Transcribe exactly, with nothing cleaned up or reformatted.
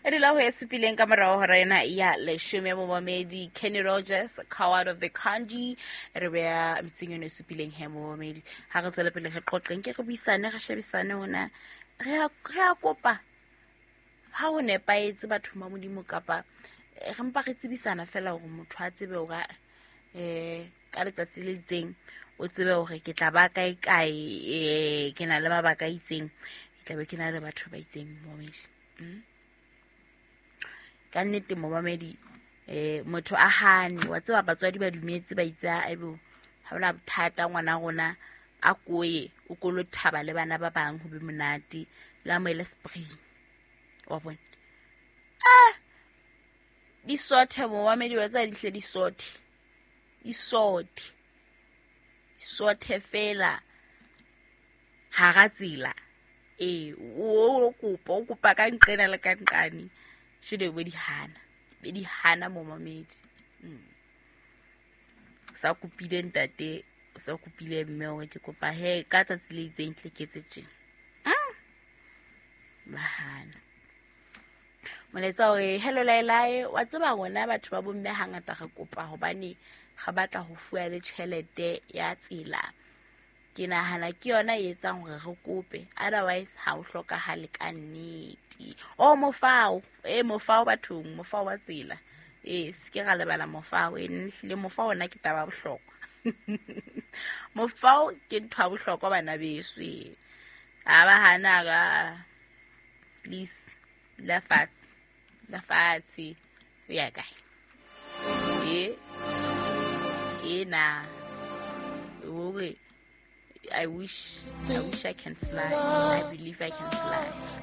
E dula ho e supileng ka morao hora ena ya leshome, momamedi. Kenny Rogers, "Coward of the Kanji", re beya metsing yone e supileng he, momamedi. Ha re tswele pele re qoqeng, ke re buisane, re shebisane hona re a re a kopa ha ho nepahetse bathong ba Modimo, kapa eh, re mpa re tsebisana fela hore motho a tsebe hore um ka letsatsi le itseng o tsebe hore ke tla ba kae kae, um ke na le mabaka a itseng, ke tla be ke na le batho ba itseng, momamedi. mm? Ka nnete, momamedi, um motho a hane wa tseba, batswadi ba dumetse, ba itse aibo, ha ona bothata, ngwana rona a koye o kolo thaba le bana ba bang, ho be monate, le amohele spring wa bona. Ah, di sothe, momamedi, wa tseba, di hle di sothe, di sothe, di sothe fela hara tsela. Ee, o kopa, o kopa ka nqena le ka nqane, jwale be di hana, be di hana, momamedi. mm. Sa kopile ntate, o sa kopile mme hore ke kopa he ka tsatsi le itseng tle ke etse tjena. mm. ba hana. Molaetsa hore hello laelae, wa tseba rona batho ba bomme hangata re kopa hobane re batla ho fuwa le tjhelete ya tsela. Ke nahana ke yona e etsang hore re kope, otherwise ha o hlokahale ka nnete. O mofao, e mofao bathong, mofao wa tsela, ee, se ke ra lebala mofao. E hlile mofao ona ke taba ya bohlokwa, mofao ke ntho ya bohlokwa, bana beso. E a ba hana ka please la fatshe, la fatshe, o ya kae? E e na hore I wish, I wish I can fly. I believe I can fly.